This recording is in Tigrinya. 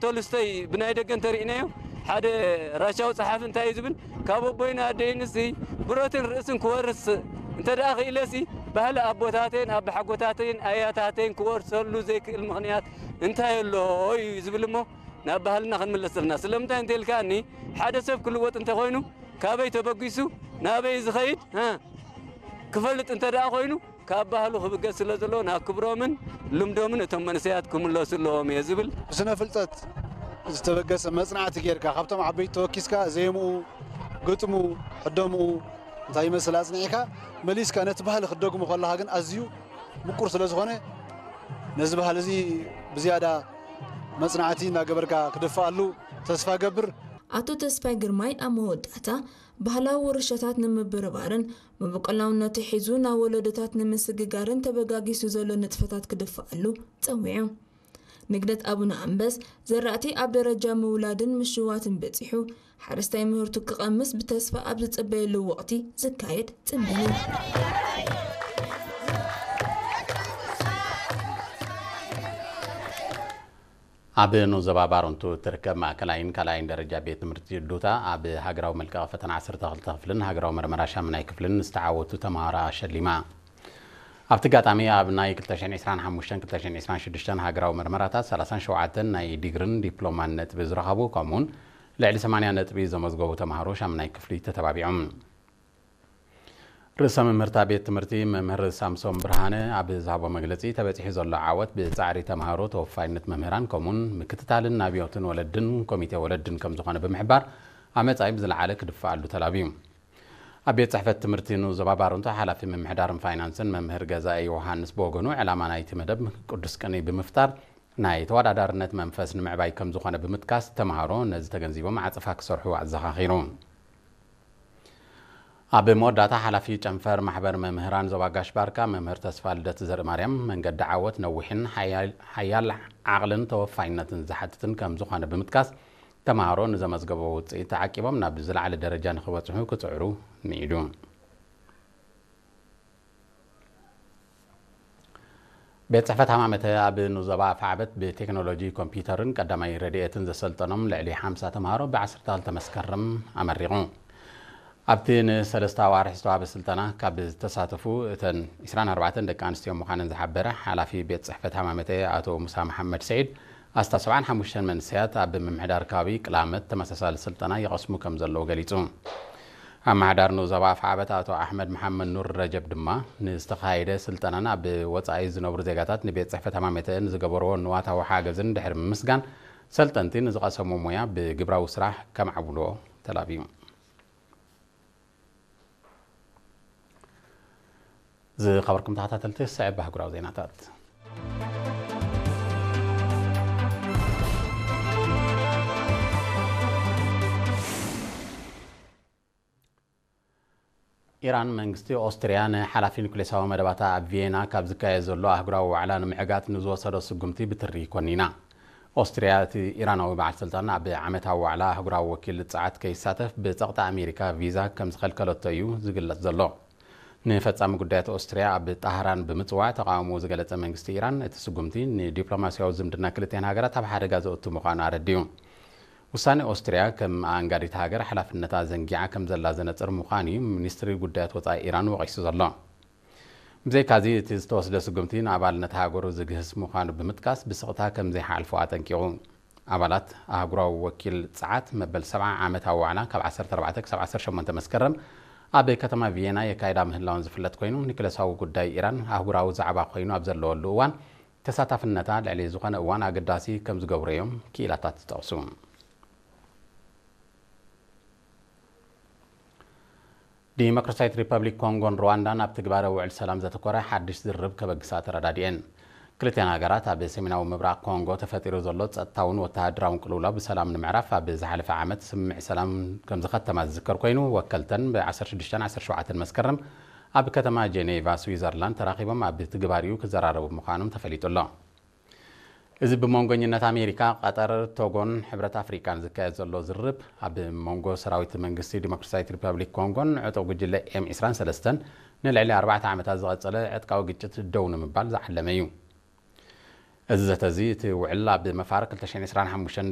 ቶልስቶይ ብናይ ደገ እንተርኢናዮ፣ ሓደ ራሻዊ ጸሓፊ እንታይ እዩ ዝብል? ካብ ኣቦይን ኣደይንሲ ብረትን ርእስን ክወርስ እንተ ደኣ ክኢለሲ፣ ባህሊ ኣቦታተይን ኣባሓጎታተይን ኣያታተይን ክወርሰሉ ዘይክእል ምኽንያት እንታይ ኣሎ እዩ ዝብል እሞ፣ ናብ ባህልና ክንምለስ ዘለና። ስለምንታይ እንተ ኢልካኒ፣ ሓደ ሰብ ክልወጥ እንተኾይኑ፣ ካበይ ተበጊሱ ናበይ ዝኸይድ፣ እ፣ ክፈልጥ እንተ ደኣ ኮይኑ፣ ካብ ባህሉ ክብገስ ስለ ዘለዎ፣ ናብ ክብሮምን ልምዶምን እቶም መንእሰያት ክምለሱ ኣለዎም እየ ዝብል። ብስነ ፍልጠት ዝተበገሰ መጽናዕቲ ጌርካ፣ ካብቶም ዓበይቲ ተወኪስካ፣ ዜምኡ፣ ግጥሙ፣ ሕደምኡ እንታይ ይመስል ኣጽኒዕካ፣ መሊስካ ነቲ ባህሊ ክትደግሞ ከለኻ ግን ኣዝዩ ምቁር ስለ ዝኾነ፣ ነዚ ባህሊ እዚ ብዝያዳ መጽናዕቲ እናገበርካ ክድፍኣሉ ተስፋ ገብር። ኣቶ ተስፋይ ግርማይ ኣብ መወዳእታ፣ ባህላዊ ውርሻታት ንምብርባርን መበቆላውነቱ ሒዙ ናብ ወለዶታት ንምስግጋርን ተበጋጊሱ ዘሎ ንጥፈታት ክድፍኣሉ ጸዊዑ። ንግደት ኣቡነ ኣንበስ ዘራእቲ ኣብ ደረጃ ምውላድን ምሽዋትን በጺሑ፣ ሓረስታይ ምህርቱ ክቐምስ ብተስፋ ኣብ ዝጽበየሉ ወቕቲ ዝካየድ ጽምብል እዩ። ኣብ ኑዞባ ባረንቱ እትርከብ ማእከላይን ካልኣይን ደረጃ ቤት ትምህርቲ ዱታ ኣብ ሃገራዊ መልቀቒ ፈተና ዓሰርተ ክልተ ክፍልን ሃገራዊ መርመራ ሻምናይ ክፍልን ዝተዓወቱ ተምሃሮ ኣሸሊማ። ኣብቲ ኣጋጣሚ ኣብ ናይ ክልተ ሽሕን ዕስራን ሓሙሽተን ክልተ ሽሕን ዕስራን ሽዱሽተን ሃገራዊ መርመራታት ሰላሳን ሸውዓተን ናይ ዲግርን ዲፕሎማን ነጥቢ ዝረኸቡ፣ ከምኡውን ልዕሊ ሰማንያ ነጥቢ ዘመዝገቡ ተምሃሮ ሻምናይ ክፍሊ ተተባቢዖም። ርእሰ መምህርታ ቤት ትምህርቲ መምህር ሳምሶም ብርሃነ ኣብ ዝሃቦ መግለጺ፣ ተበጺሑ ዘሎ ዓወት ብጻዕሪ ተምሃሮ፣ ተወፋይነት መምህራን፣ ከምኡውን ምክትታልን ናብዮትን ወለድን ኮሚቴ ወለድን ከም ዝኾነ ብምሕባር፣ ኣብ መጻኢ ብዝለዓለ ክድፍኣሉ ተላብዩ። ኣብ ቤት ጽሕፈት ትምህርቲ ንዞባ ባረንቱ ሓላፊ ምምሕዳርን ፋይናንስን መምህር ገዛኢ ዮሃንስ ብወገኑ፣ ዕላማ ናይቲ መደብ ቅዱስ ቅኔ ብምፍጣር፣ ናይ ተወዳዳርነት መንፈስ ንምዕባይ ከም ዝኾነ ብምጥቃስ፣ ተምሃሮ ነዚ ተገንዚቦም ዓጸፋ ክሰርሑ ኣዘኻኺሩ። ኣብ መወዳእታ፣ ሓላፊ ጨንፈር ማሕበር መምህራን ዞባ ጋሽ ባርካ መምህር ተስፋ ልደት ዘርኢ ማርያም፣ መንገዲ ዓወት ነዊሕን ሓያል፣ ሓያል ዓቕልን ተወፋይነትን ዝሓትትን ከም ዝኾነ ብምጥቃስ፣ ተምሃሮ ንዘመዝገቦ ውጽኢት ተዓቂቦም ናብ ዝለዓለ ደረጃ ንኽበጽሑ ክጽዕሩ ምዒዱ። ቤት ጽሕፈት ሃማመተ ኣብ ንዞባ ኣፍዓበት ብቴክኖሎጂ ኮምፒውተርን ቀዳማይ ረድኤትን ዘሰልጠኖም ልዕሊ ሓምሳ ተምሃሮ ብ ዓሰርተ ክልተ መስከረም ኣመሪቑ። ኣብቲ ንሰለስተ ኣዋርሕ ዝተዋህበ ስልጠና ካብ ዝተሳተፉ እተን ዕስራን ኣርባዕተን ደቂ ኣንስትዮ ምዃነን ዝሓበረ ሓላፊ ቤት ጽሕፈት ሃማመተ ኣቶ ሙሳ መሓመድ ስዒድ፣ ኣስታት ሰብዓን ሓሙሽተን መንእሰያት ኣብ ምምሕዳር ከባቢ ቅላመት ተመሳሳሊ ስልጠና ይቐስሙ ከም ዘለዉ ገሊጹ። ኣመሓዳሪ ንዞባ ኣፍዓበት ኣቶ ኣሕመድ መሓመድ ኑር ረጀብ ድማ፣ ንዝተኻየደ ስልጠናን ኣብ ወጻኢ ዝነብሩ ዜጋታት ንቤት ጽሕፈት ሃማመተ ንዝገበርዎ ንዋታዊ ሓገዝን ድሕሪ ምምስጋን፣ ሰልጠንቲ ንዝቐሰሞ ሞያ ብግብራዊ ስራሕ ከምዓብልዎ ተላብዩ። ዝኸበርኩም ተኸታተልቲ፣ ስዕብ ኣህጉራዊ ዜናታት። ኢራን፣ መንግስቲ ኦስትርያ ንሓላፊ ኑክሌሳዊ መደባታ ኣብ ቪየና ካብ ዝካየድ ዘሎ ኣህጉራዊ ዋዕላ ንምዕጋት ንዝወሰዶ ስጉምቲ ብትሪ ኮኒና። ኦስትርያ፣ እቲ ኢራናዊ በዓል ስልጣን ኣብ ዓመታዊ ዋዕላ ኣህጉራዊ ወኪል ጸዓት ከይሳተፍ ብጸቕጢ ኣሜሪካ ቪዛ ከም ዝኸልከለቶ እዩ ዝግለጽ ዘሎ። ንፈጻሚ ጉዳያት ኦስትርያ ኣብ ጣህራን ብምጽዋዕ ተቓውሞ ዝገለጸ መንግስቲ ኢራን፣ እቲ ስጉምቲ ንዲፕሎማስያዊ ዝምድና ክልቲኣን ሃገራት ኣብ ሓደጋ ዘእቱ ምዃኑ ኣረዲኡ። ውሳኔ ኦስትርያ ከም ኣኣንጋዲት ሃገር ሓላፍነታ ዘንጊዓ ከም ዘላ ዘነጽር ምዃኑ እዩ ሚኒስትሪ ጉዳያት ወጻኢ ኢራን ወቒሱ ዘሎ። ብዘይካዚ፣ እቲ ዝተወስደ ስጉምቲ ንኣባልነት ሃገሩ ዝግህስ ምዃኑ ብምጥቃስ፣ ብስቕታ ከም ዘይሓልፎ ኣጠንቂቑ። ኣባላት ኣህጉራዊ ወኪል ጸዓት፣ መበል ሰብዓ ዓመታዊ ዋዕላ ካብ ዓሰርተ ኣርባዕተ ክሳብ ዓሰርተ ሸሞንተ መስከረም ኣብ ከተማ ቪየና የካይዳ ምህላወን ዝፍለጥ ኮይኑ፣ ኒክለሳዊ ጉዳይ ኢራን ኣህጉራዊ ዛዕባ ኮይኑ ኣብ ዘለወሉ እዋን፣ ተሳታፍነታ ልዕሊ ዝኾነ እዋን ኣገዳሲ ከም ዝገብሮ እዮም ክኢላታት ዝጠቕሱ። ዲሞክራሲያዊት ሪፐብሊክ ኮንጎን ሩዋንዳን ኣብ ትግባረ ውዕል ሰላም ዘተኮረ ሓድሽ ዝርርብ ከበግሳ ተረዳዲኤን። ክልቲኣን ሃገራት፣ ኣብ ሰሜናዊ ምብራቕ ኮንጎ ተፈጢሩ ዘሎ ጸጥታውን ወተሃደራውን ቅልውላው ብሰላም ንምዕራፍ ኣብ ዝሓለፈ ዓመት ስምምዕ ሰላም ከም ዝኸተማ ዝዝከር ኮይኑ፣ ወከልተን ብ ዓሰርተ ሽዱሽተን ዓሰርተ ሸውዓተን መስከረም ኣብ ከተማ ጄኔቫ ስዊዘርላንድ ተራኺቦም ኣብ ትግባሪኡ ክዘራረቡ ምዃኖም ተፈሊጡ ኣሎ። እዚ ብመንጎኝነት ኣሜሪካ፣ ቀጠር፣ ቶጎን ሕብረት ኣፍሪቃን ዝካየድ ዘሎ ዝርርብ፣ ኣብ መንጎ ሰራዊት መንግስቲ ዲሞክራሲያዊት ሪፐብሊክ ኮንጎን ዕጡቕ ጉጅለ ኤም ዕስራን ሰለስተን ንልዕሊ ኣርባዕተ ዓመታት ዝቐጸለ ዕጥቃዊ ግጭት ደው ንምባል ዝዓለመ እዩ። እዚ ዘተ እዚ እቲ ውዕል ኣብ መፋርቅ ክልተ ሽሕን ዕስራን ሓሙሽተን